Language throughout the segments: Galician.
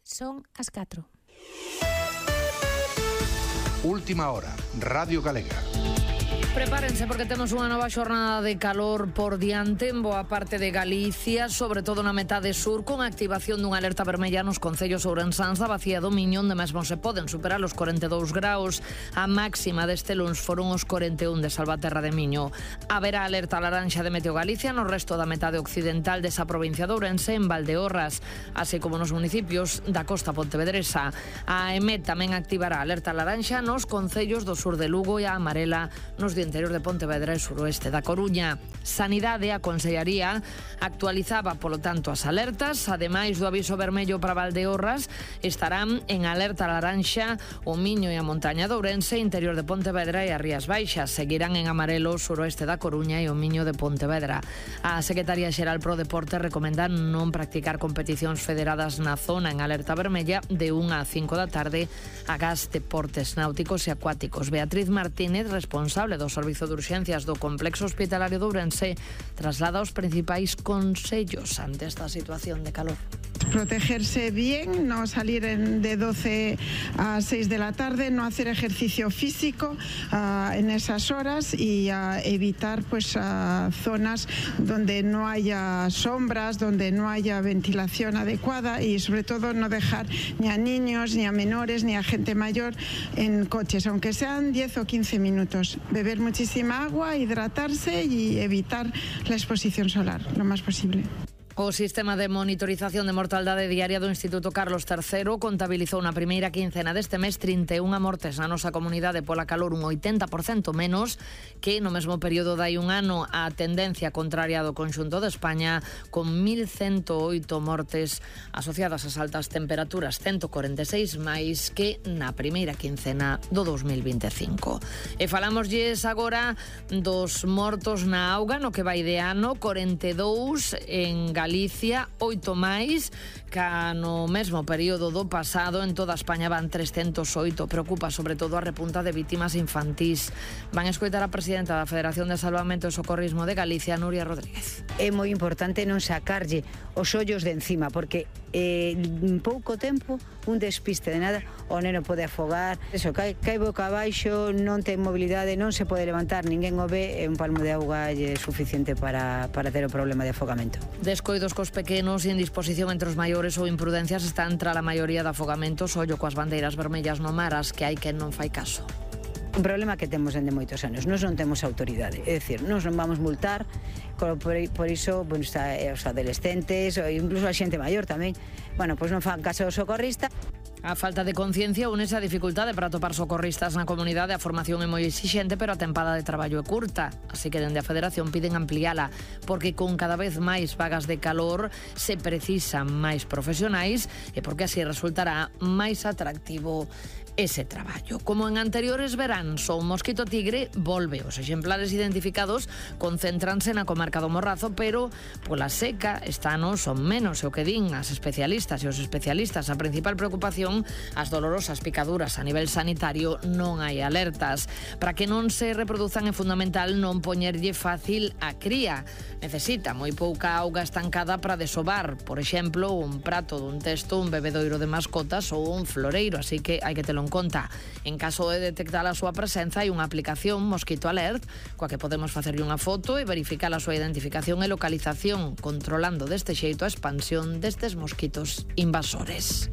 Son as 4. Última hora, Radio Galega. Prepárense porque temos unha nova xornada de calor por diante en boa parte de Galicia, sobre todo na metade sur, con activación dunha alerta vermella nos concellos ourensáns da Bacía do Miño, onde mesmo se poden superar os 42 graus. A máxima deste luns foron os 41 de Salvaterra de Miño. Haberá alerta laranxa de Meteo Galicia no resto da metade occidental desa provincia de Ourense, en Valdeorras, así como nos municipios da costa pontevedresa. A EMET tamén activará alerta laranxa nos concellos do sur de Lugo e a amarela nos do interior de Pontevedra e suroeste da Coruña. Sanidade, a Consellería, actualizaba, polo tanto, as alertas. Ademais do aviso vermello para Valdeorras, estarán en alerta laranxa o Miño e a montaña de Ourense, interior de Pontevedra e as Rías Baixas. Seguirán en amarelo o suroeste da Coruña e o Miño de Pontevedra. A Secretaría Xeral Pro Deporte recomenda non practicar competicións federadas na zona en alerta vermella de 1 a 5 da tarde agás deportes náuticos e acuáticos. Beatriz Martínez, responsable do Servizo de Urxencias do Complexo Hospitalario de Ourense, traslada os principais consellos ante esta situación de calor. Protegerse bien, no salir de 12 a 6 de la tarde, no hacer ejercicio físico en esas horas y evitar zonas donde no haya sombras, donde no haya ventilación adecuada y sobre todo no dejar ni a niños, ni a menores, ni a gente mayor en coches, aunque sean 10 o 15 minutos. Beber muchísima agua, hidratarse y evitar la exposición solar lo más posible. O sistema de monitorización de mortaldade diaria do Instituto Carlos III contabilizou na primeira quincena deste mes 31 mortes na nosa comunidade pola calor, un 80% menos que no mesmo período dai un ano. A tendencia contraria do conxunto de España, con 1.108 mortes asociadas ás altas temperaturas, 146 máis que na primeira quincena do 2025. E falámoslles agora dos mortos na auga no que vai de ano, 42 en Galicia, 8 máis ca no mesmo período do pasado. En toda España van 308. Preocupa sobre todo a repunta de vítimas infantís. Van a escoitar a presidenta da Federación de Salvamento e Socorrismo de Galicia, Nuria Rodríguez. É moi importante non sacarlle os ollos de encima, porque en pouco tempo, un despiste de nada, o neno pode afogar, eso, cae boca abaixo, non ten mobilidade, non se pode levantar, ninguén o ve, e un palmo de auga é suficiente para ter o problema de afogamento. Descoidos cos pequenos, indisposición entre os maiores ou imprudencias están tra a maioría de afogamentos. Ollo coas bandeiras vermellas no mar, as que hai quen non fai caso. Un problema que temos dende moitos anos, nós non temos autoridade, é dicir, nós non vamos multar, por iso, está os adolescentes, ou incluso a xente maior tamén, pois non fan caso ao socorrista. A falta de conciencia únese a dificultade para atopar socorristas na comunidade. A formación é moi exixente, pero a tempada de traballo é curta, así que dende a Federación piden ampliala, porque con cada vez máis vagas de calor se precisan máis profesionais e porque así resultará máis atractivo ese traballo. Como en anteriores veráns, o mosquito tigre volve. Os exemplares identificados concéntranse na comarca do Morrazo, pero pola seca este ano son menos, e o que din as especialistas e os especialistas, a principal preocupación, as dolorosas picaduras. A nivel sanitario non hai alertas. Para que non se reproduzan é fundamental non poñerlle fácil a cría. Necesita moi pouca auga estancada para desovar, por exemplo, un prato dun testo, un bebedoiro de mascotas ou un floreiro, así que hai que telo en conta. En caso de detectar a súa presenza, hai unha aplicación, Mosquito Alert, coa que podemos facerlle unha foto e verificar a súa identificación e localización, controlando deste xeito a expansión destes mosquitos invasores.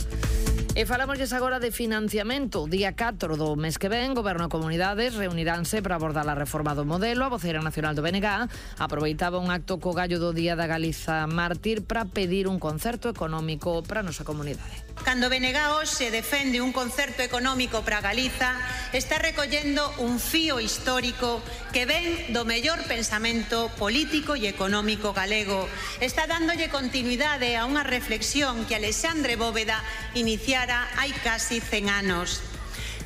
E falámosles agora de financiamento. O día 4 do mes que ven, Goberno e Comunidades reuniránse para abordar a reforma do modelo. A voceira nacional do BNG aproveitaba un acto co gallo do Día da Galiza Mártir para pedir un concerto económico para a nosa comunidade. Cando BNG hoxe defende un concerto económico para Galiza, está recollendo un fío histórico que ven do mellor pensamento político e económico galego. Está dándolle continuidade a unha reflexión que Alexandre Bóveda iniciara hai casi 100 anos.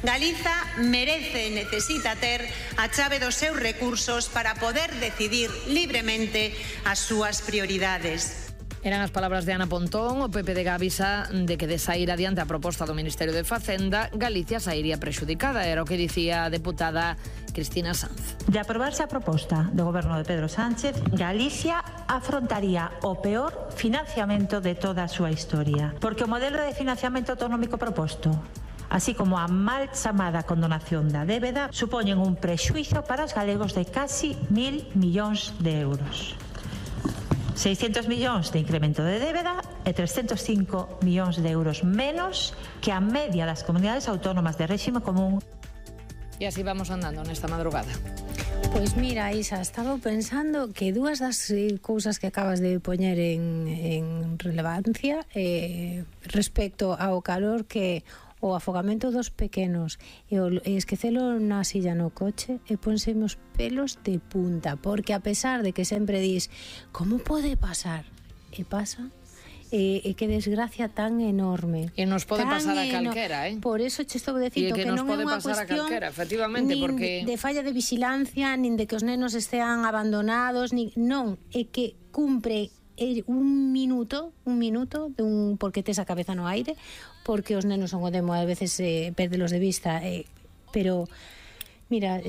Galiza merece e necesita ter a chave dos seus recursos para poder decidir libremente as súas prioridades. Eran as palabras de Ana Pontón. O PP de avisa de que de sair adiante a proposta do Ministerio de Facenda, Galicia sairía prexudicada. Era o que dicía a deputada Cristina Sanz. De aprobarse a proposta do goberno de Pedro Sánchez, Galicia afrontaría o peor financiamento de toda a súa historia. Porque o modelo de financiamento autonómico proposto, así como a mal chamada condonación da débeda, supoñen un prexuízo para os galegos de casi 1.000 millóns de euros. 600 millóns de incremento de débeda e 305 millóns de euros menos que a media das comunidades autónomas de réxime común. E así vamos andando nesta madrugada. Pois mira, Isa, estaba pensando que dúas das cousas que acabas de poñer en relevancia respecto ao calor que o afogamento dos pequenos e esquecelo na silla no coche e pónseme os pelos de punta, porque a pesar de que sempre dis como pode pasar, e pasa, e que desgracia tan enorme. E nos pode pasar a calquera, Por eso che estou dicindo que non é unha cuestión nin de falla de vigilancia, nin de que os nenos estean abandonados, non, é que cumpre un minuto porque tes a cabeza no aire, porque os nenos son o demo, a veces perdelos de vista, pero mira,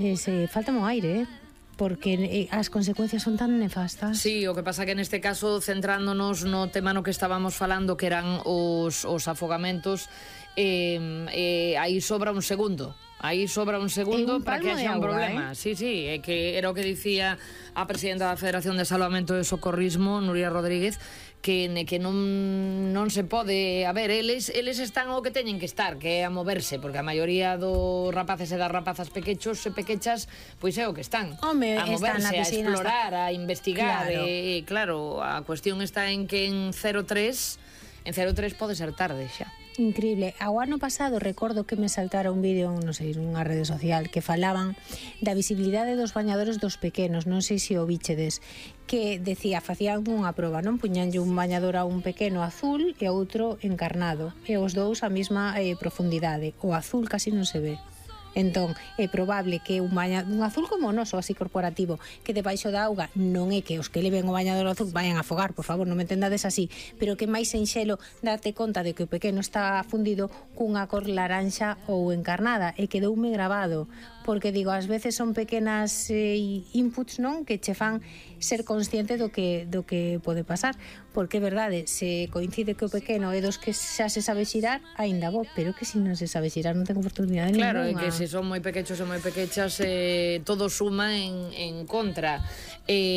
falta mo aire, porque as consecuencias son tan nefastas. Sí, o que pasa que neste caso, centrándonos no tema no que estábamos falando, que eran os afogamentos, aí sobra un segundo. Aí sobra un segundo para que haxa un problema. Sí, é que era o que dicía a presidenta da Federación de Salvamento e Socorrismo, Nuria Rodríguez, que non se pode... A ver, eles están o que teñen que estar, que é a moverse, porque a maioría dos rapaces e das rapazas pequechos e pequechas, pois é o que están. Home, a moverse, a explorar, a investigar. Claro. E claro, a cuestión está en que en 03 pode ser tarde xa. Increíble. Ao ano pasado recordo que me saltara un vídeo, non sei, nunha rede social, que falaban da visibilidade dos bañadores dos pequenos, non sei se o bichedes, que decía, facían unha proba, non? Puñanlle un bañador a un pequeno azul e a outro encarnado, e os dous a mesma profundidade. O azul casi non se ve. Entón, é probable que un azul como o noso, así corporativo, que debaixo da auga, non é que os que leven o bañador azul vayan a afogar, por favor, non me entendades así, pero que máis enxelo darte conta de que o pequeno está fundido cunha cor laranxa ou encarnada, e quedoume grabado, porque digo, ás veces son pequenas inputs, non, que che fan ser consciente do que pode pasar, porque é verdade, se coincide que o pequeno é dos que xa se sabe xirar, aínda bo, pero que se non se sabe xirar non ten oportunidade ninguna. Claro, é que se son moi pequechos e moi pequechas, todo suma en contra.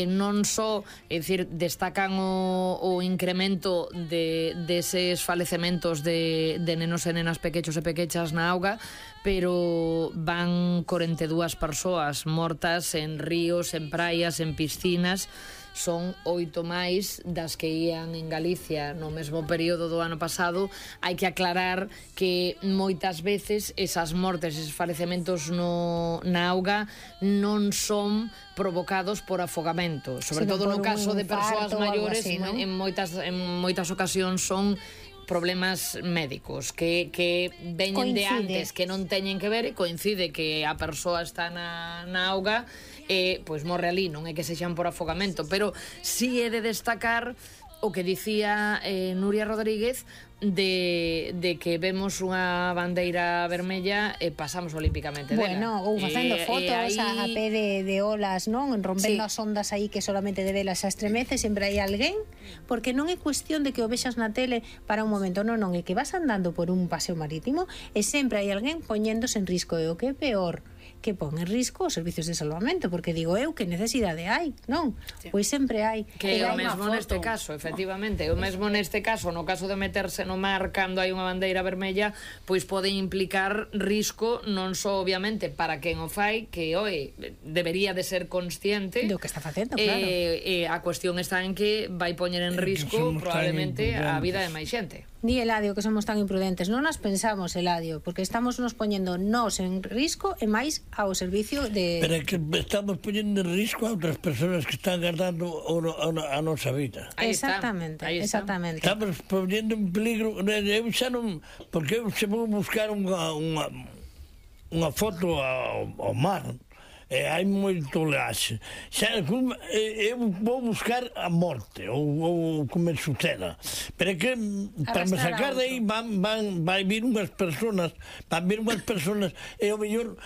Non só, é dicir, destacan o incremento deses falecementos de nenos e nenas pequechos e pequechas na auga, pero van 42 persoas mortas en ríos, en praias, en piscinas. Son 8 máis das que ían en Galicia no mesmo período do ano pasado. Hai que aclarar que moitas veces esas mortes, esos falecementos na auga non son provocados por afogamento, sobre todo no caso de persoas maiores, así, ¿no? en moitas ocasións son problemas médicos que veñen de antes, que non teñen que ver, e coincide que a persoa está na auga, pois morre ali, non é que sexan por afogamento, pero si é de destacar o que dicía Nuria Rodríguez de que vemos unha bandeira vermella e pasamos olímpicamente dela. Bueno, ou facendo fotos a pé de olas, non? Rompendo as ondas aí que solamente de velas se estremece, sempre hai alguén, porque non é cuestión de que o vexas na tele para un momento, non, é que vas andando por un paseo marítimo e sempre hai alguén poñéndose en risco, e o que é peor, que pon en risco os servicios de salvamento, porque digo eu, que necesidade hai, non? Pois sempre hai. Que é o mesmo neste caso, efectivamente, o mesmo neste caso, no caso de meterse no mar cando hai unha bandeira vermella, pois pode implicar risco, non só obviamente para quen o fai, que debería de ser consciente do que está facendo, claro. A cuestión está en que vai poñer en risco probablemente a vida de máis xente. Di Eladio que somos tan imprudentes. Non nas pensamos, Eladio, porque estamos nos poñendo nós en risco e máis ao servicio de... Pero é que estamos poñendo en risco a outras persoas que están guardando a nosa vida. Exactamente. Estamos poñendo en peligro. Eu xa non... Porque eu se vou buscar unha foto ao mar, hai moito laxe. Eu vou buscar a morte ou que me suceda, pero é que para me sacar de aí vai vir unhas personas e ao mellor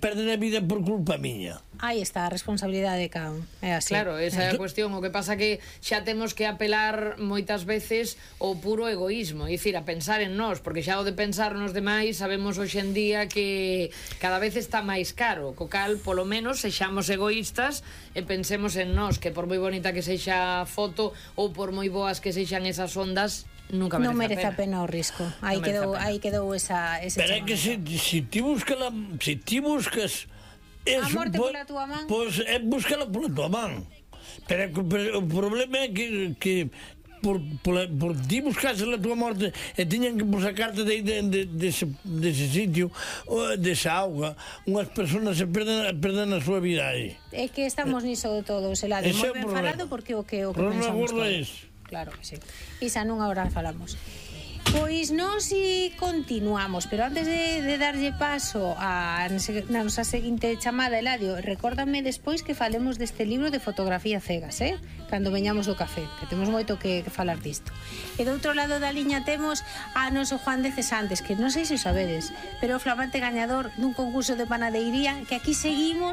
perden a vida por culpa miña. Aí está a responsabilidade de cada un. É así. Claro, esa é a cuestión. O que pasa que xa temos que apelar moitas veces ao puro egoísmo, é dicir, a pensar en nós, porque xa o de pensar nos demais sabemos hoxe en día que cada vez está máis caro, co cal, polo menos, sexamos egoístas e pensemos en nós, que por moi bonita que sexa a foto ou por moi boas que sexan esas ondas, nunca merece, non merece a pena o risco. Aí quedou ese pero é que se ti buscas a morte pola túa man, pois búscala pola túa man, pero o problema é que por ti buscase a túa morte e tiñan que sacarte dese sitio, desa auga, unhas persoas se perden a súa vida aí. É que estamos niso de todo, Eladio, moi ben falado, porque o que pensamos todos. Claro que sí. Isa, nunha hora falamos. Pois nós continuamos, pero antes de darlle paso a nosa seguinte chamada, Eladio, recórdame despois que falemos deste libro de fotografía cegas, cando veñamos do café, que temos moito que falar disto. E do outro lado da liña temos a noso Juan de Cesantes, que non sei se o sabedes, pero o flamante gañador dun concurso de panadeiría, que aquí seguimos